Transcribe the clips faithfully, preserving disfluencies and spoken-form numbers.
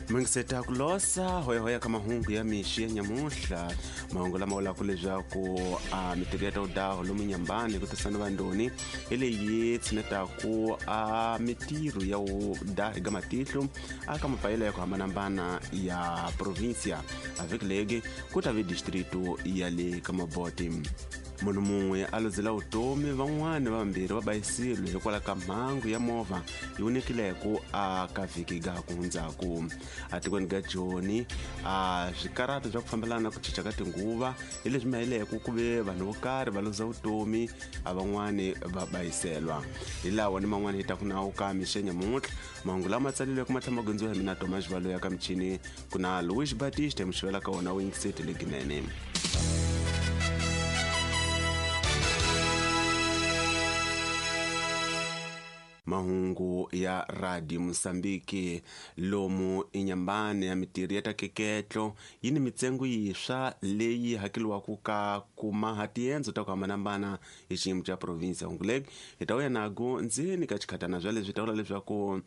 Mingiseta ku losa hoyahoya ka mahungu ya mixi ya nyamuhla mahungu lama vulaka leswaku a mitirho ya tawudaho lomu Nyambani ku tisana vandoni hi leyi tshinetaku a mitirho ya wudahi ga matihlo aka mapayelo ya ku hambanahambana ya provinsia a vhiki legi ku ta ve distrito ya le ka Maboti. Munhu mun'we a luzela vutomi van'wani vambirhi va bayisile hikwalaho ka mhangu ya movha yi vonekileko a ka vhiki ga ku hundzaku. Atikweni ga Joni a swikarhato swa ku fambelana ku cinca ka tinguva hi leswi mahileko ku ve vanhu vo karhi va luza vutomi a van'wani va bayiselwa. Hi lawa ni man'wani hi ta ku nawu ka mixi ya nyamuntlha mahungu lama tsalileke ma tlhela ma gondziwa hi mina Thomas Valo ya ka michini ku na Louis Batiste muxivela ka wona wu yingiseti leginene. Mahungu ya Radio Mozambique lomu inyambani ya mitirho ya takeketlo yi ni mitsengo yiswa leyi hakeliwaka ka kuma tiendzo ta ku hambanahambana hi xiyimo xa province ya Ngulek hi ta vuya nago ndzeni ka xikhatana bya leswi ta vula leswaku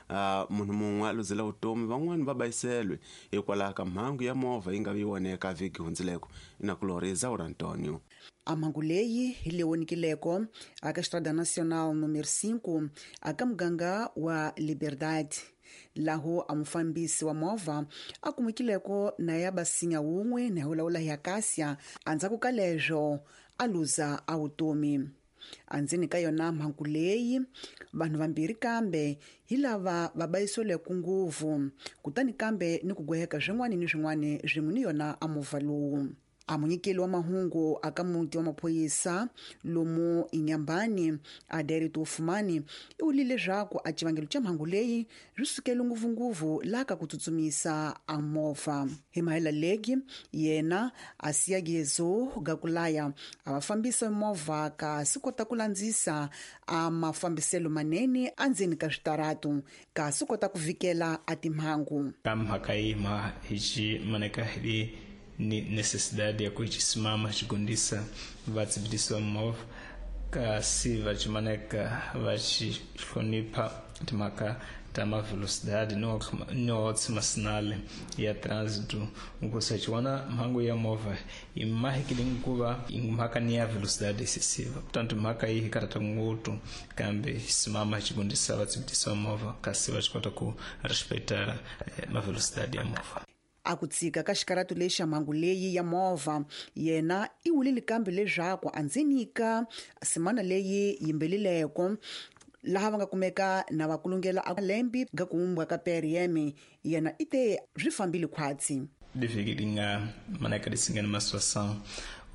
uh, munhu mun'we a luzela vutomi van'wani va bayiselwe hikwalaho ka mhangu ya movha yi nga vi voneka vhiki hundzileko inakulori Zaura Antonio. A mhangu leyi hi le vonikileko aka Estrada Nacional número cinco aka muganga wa Liberdade laho a mufambisi wa movha a kumekileko na ya basinya wun'we na hulawula ya Kasia andzhaku ka leswo a luza a vutomi. Andzeni ka yona mhangu leyi vanhu vambirhi kambe hi lava va bayisoleke ngopfu kutani kambe ni ku gweheka swin'wana ni swin'wana swin'we ni yona a movha lowu. A munyikeli wa mahungu aka muti wa maphorisa lomu Inyambani Aderito Fumani i vulile leswaku a xivangelo xa mhangu leyi ri sukele ngopfungopfu laha ka ku tsutsumisa a movha. Hi mahela legi yena a siya gezo gakulaya a va fambisa movha kasi kota ku landzisa a mafambiselo manene andzeni ka switaratu kasi kota ku vikela a timhangu. Ka mhaka yi ma hi xi maneka hi ni necessidade ya kuchisimama chigundisa vatsibidisi movha kasi vachimaneka vachihlonipha timhaka ta mavelocidade no no masinale ya trânsito ukusachiwana mhangu ya movha imahikile nkuva mhaka ni ya velocidade excessiva portanto mhaka iyi hikarata ngopfu kambe simama chigundisa vatsibidisi movha kasi vachikota ku respeitar mavelocidade ya movha. A ku tshika ka xikarhato lexi xa mhangu leyi ya movha yena i vulile kambe leswaku andzeni ka semana leyi yimbelileko laha va nga kumeka na va kulungela a lembi ga ku vumbwa ka P R M yena i te swi fambile khwatsi. Divhiki li nga maneka lisingana ma situação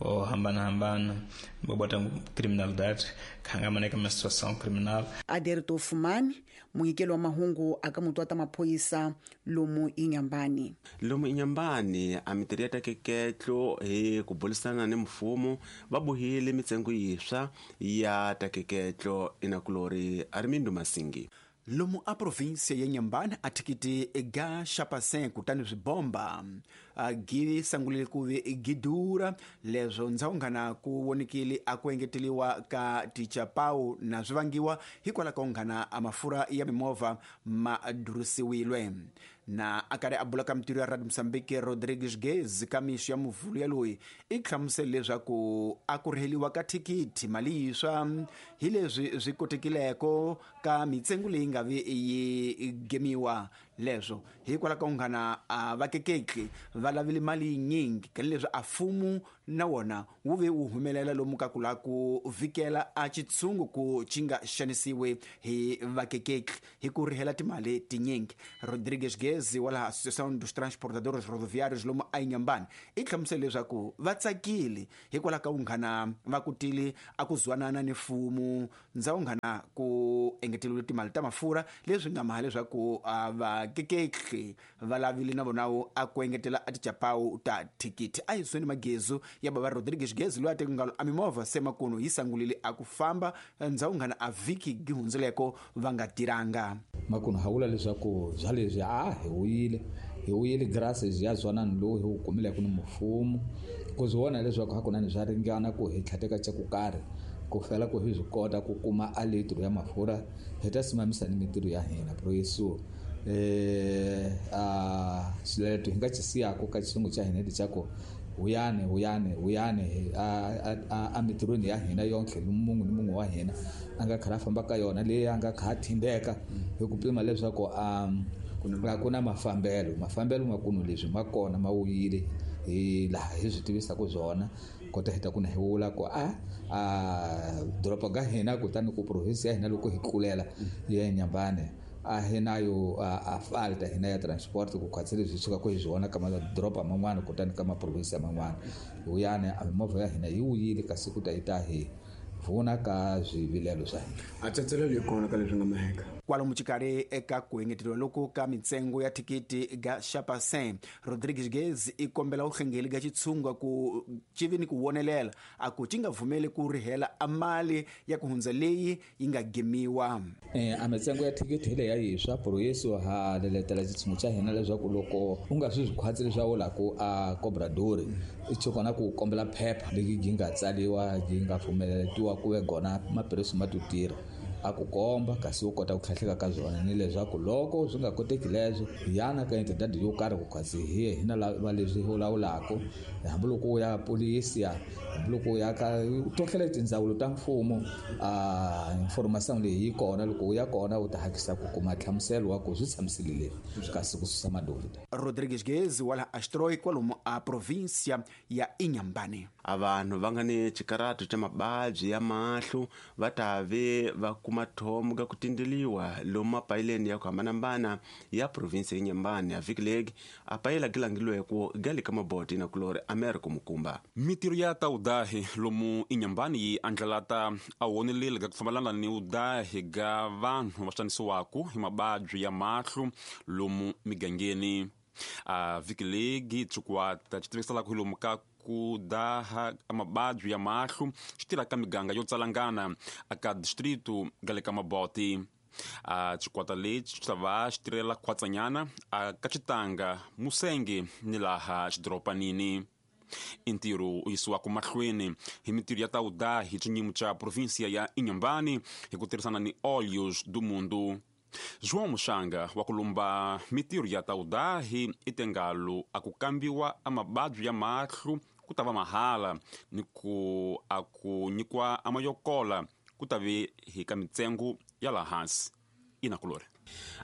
o hambana-hambana bobota criminalidade khanga maneka ma situação criminal. Aderito Fumani munyikeli wa mahungu aka muti wa ta maphorisa lomu Inyambani. Lomu Inyambani a mitirho ya takeketlo hi ku burisana ni mfumo va bohile mitsengo yiswa ya takeketlo inakulori Armindo Masingi. Lomu a província ya Nyambani a thikiti ga xapasen kutani swibomba a gi sangulile ku ve gidura leswo ndzawunghana ku vonikile a ku engeteliwa ka tichapau na swi vangiwa hikwalaho ka unghana a mafurha ya mimovha ma durisiwile. Na a karhi a bula ka mitirho ya Radio Mozambique Rodrigues Gez ka mixo ya muvhulu ya loyi i hlamusele leswaku a ku riheliwa ka thikithi mali yiswa hi leswi swi kotekileko ka mitsengo leyi nga vi yi gemiwa leswo hikwalaho ka unghana a vakekeki va lavile mali yinyingi ka leswi a mfumo na wona wu ve wu humelela lomu ka ku lava ku vikela a xitshungu ku xi nga xanisiwi hi vakekeki hi ku rihela timali tinyingi. Rodrigues Gez wa laha Associação dos Transportadores Rodoviários lomu a Inhambane i hlamusele leswaku va tsakile hikwalaho ka unghana va kutile a ku zwanana ni mfumo ndzawunghana ku engeteriwile timali ta mafurha leswi nga maha leswaku a vakekeki va lavile na vona a ku engetela a tichapawu ta thikithi. A hi sweni magezu ya bava Rodrigues Gez loyi a teke ngalo a mimovha se makuno yi sangulile a ku famba ndzawunghana a vhiki gi hundzileko va nga tiranga. Makuno ha vula leswaku bya leswi a hi wuyile hi wuyile graces ya zwanani lowu hi wu kumileke ni mfumo ku swi vona leswaku hakunene swa ringana ku hi tlhateka xa ku karhi ku fela ku hi swi kota ku kuma a litro ya mafurha hi ta simamisa ni mintirho ya hina. Pro Yesu eh a xileto hi nga xi siyaka ka xilungu xa hina lexaku huyani huyani huyani a a a mitirhweni ya hina yonke munhu ni munhu wa hina a nga kha a famba ka yona leyi a nga kha a thindeka hi ku pima leswaku a ku na mafambelo mafambelo ma kunu leswi ma kona ma wuyile hi laha hi swi tivisaka byona kota hi ta ku na hi vula ku a a doroba ga hina kutani ku province ya hina loko hi tlulela ya Inhambane a hi na yo a falta hina ya transport ku khwatsi leswi suka ku hi swona ka madoroba man'wana kutani ka maprovinsi man'wana huyani a mimovha ya hina yi wuyile kasi ku ta yi ta hi vona ka swivilelo swa hina a tsatselelo yi kona ka leswi nga maheka kwalomu xikarhi eka ku engeteriwa loko ka mintsengo ya thikithi ga Chapasin Rodrigues Gez i kombela vuhlengeli ga xitshunga ku civi ni ku vonelela a ku ci nga pfumeli ku rihela a mali ya ku hundza leyi yi nga gimiwa eh a mintsengo ya thikithi hi leyi ya yiswa proyeso ha leletela xitshungu xa hina leswaku loko u nga swi khwatsi leswaku la ku a cobradori i chokona ku kombela phepha leyi yi nga tsaliwa yi nga pfumeletiwa ku ve gona maphilisi ma to tirha a ku komba kasi u kota ku tlhatlheka ka byona ni leswaku loko swi nga koteki leswo yana ka entidade yo karhi ku kasi hi hina lava leswi hi lawulaka hambiloko u ya polisi ya hambiloko u ya ka totlhela tindzawulo ta mfumo a information leyi yi kona loko u ya kona u ta hakisa ku kuma nhlamuselo wa ku swi tshamisile leswi kasi ku susa madovida Rodrigues Gez wala Astroi kwalomu a provincia ya Inhambane a vanhu va nga ni xikaratu xa mababyi ya mahlo va ta ve va kuma thomo ka ku tindeliwa lomu mapayileni ya ku hambanahambana ya province ya Inhambane ya vhiki legi a payela gilangilweko ga le ka maboti na kulori America Mukumba mitirho ya ta udahi lomu Inhambane yi andlalata a woneleli ga ku fambelana ni udahi ga vanhu va xanisiwaku hi mababyi ya mahlo lomu migangeni a vhiki legi xikwata xi tiviselaka hi lomu ka ku daha mababyi ya mahlo xi tirha ka miganga yo tsalangana aka distrito ga le ka maboti a xikwata lexi xi ta va xi tirhela khwatsanyana a ka xitanga musenge ni laha xidoropanini i ntirho u yisiwaka mahlweni hi mintirho ya ta udahi xinyimo xa provinsia ya Inhambane hi ku tirhisana ni Olhos do Mundo João Muxanga wa ku lumba mintirho ya ta udahi i tengalo a ku kambiwa a mababyi ya mahlo ku ta va mahala ni ku a ku nyikiwa a mayokola ku ta ve hi ka mintsengo ya laha hansi inakulori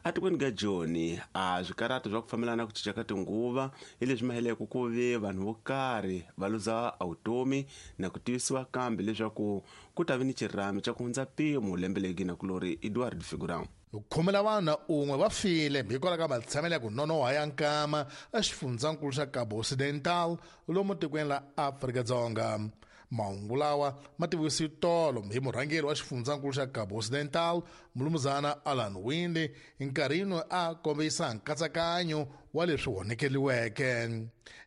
atikweni ka Joni a swikaratu swa ku fambelana ku cinca ka tinguva hi leswi maheleke ku ve vanhu vo karhi va luza vutomi na ku tivisiwa kambe leswaku ku ta ve ni xirhami xa ku hundza mpimo lembe legi na kulori Edward Figurão khume la vanhu un'we va file hikwalaho ka matshamelo ya ku nonoha ya nkama exifundzankulu xa Cabo Occidental lomu tikweni la Afrika-Dzonga mahungu lawa ma tivisiwe tolo hi murhangeri wa xifundzankulu xa Cabo Occidental mulumuzana Alan Winde nkarhini a kombisa nkatsakanyo wa leswi honekeliweke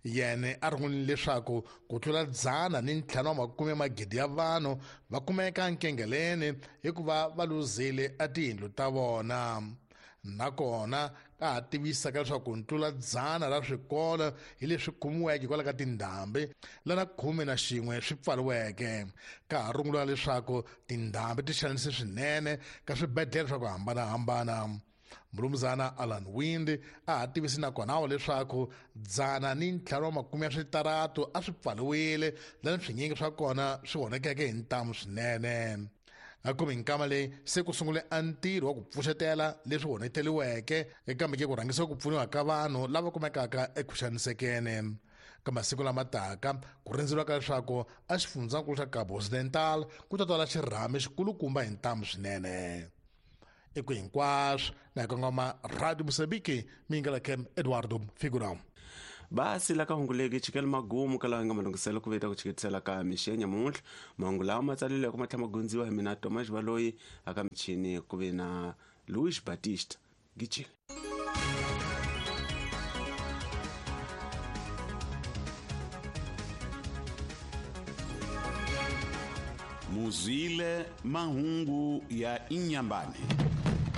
yena a rungulile leswaku ku tlula dzana ni ntlhanu wa makume magidi ya vanhu va kumeka nkengeleni hikuva va luzile a tiyindlu ta vona nakona ka ha tivisaka leswaku ntlula dzana ra swikolo hi leswi kumiweke hikwalaho ka tindhambi lana khume na xin'we swi pfariweke ka ha rungula leswaku tindhambi ti xanise swinene ka swibedhlele swa ku hambanahambana mulumuzana Alan Winde a ha tivisi nakona leswaku dzana ni ntlhanu wa makume ya switaratu a swi pfariwile lani swinyingi swa kona swi honekeke hi ntamu swinene akumi nkama leyi se ku sungule a ntirho wa ku pfuxetela leswi honeteliweke kambe ke ku rhangisa ku pfuniwa ka vanhu lava kumekaka eku xanisekeni ka masiku lama taka ku rindzeriwaka leswaku a xifundzankulu xa Cabo Occidental ku ta twala xirhami xikulukumba hi ntamu swinene i ku hinkwaswo na hi kongoma Radio Mozambique mingala kem Eduardo Figurão basi la ka hunguleki chikele magumu ka laha nga malunghiselo ku veta ku chiketisela ka mixi ya nyamuntlha mahungu lawa ma tsalileke ma tlhela ma gundziwa hi mina Thomas Baloyi aka michini ku ve na Luis Batista Gijile Muzwile mahungu ya Inhambane.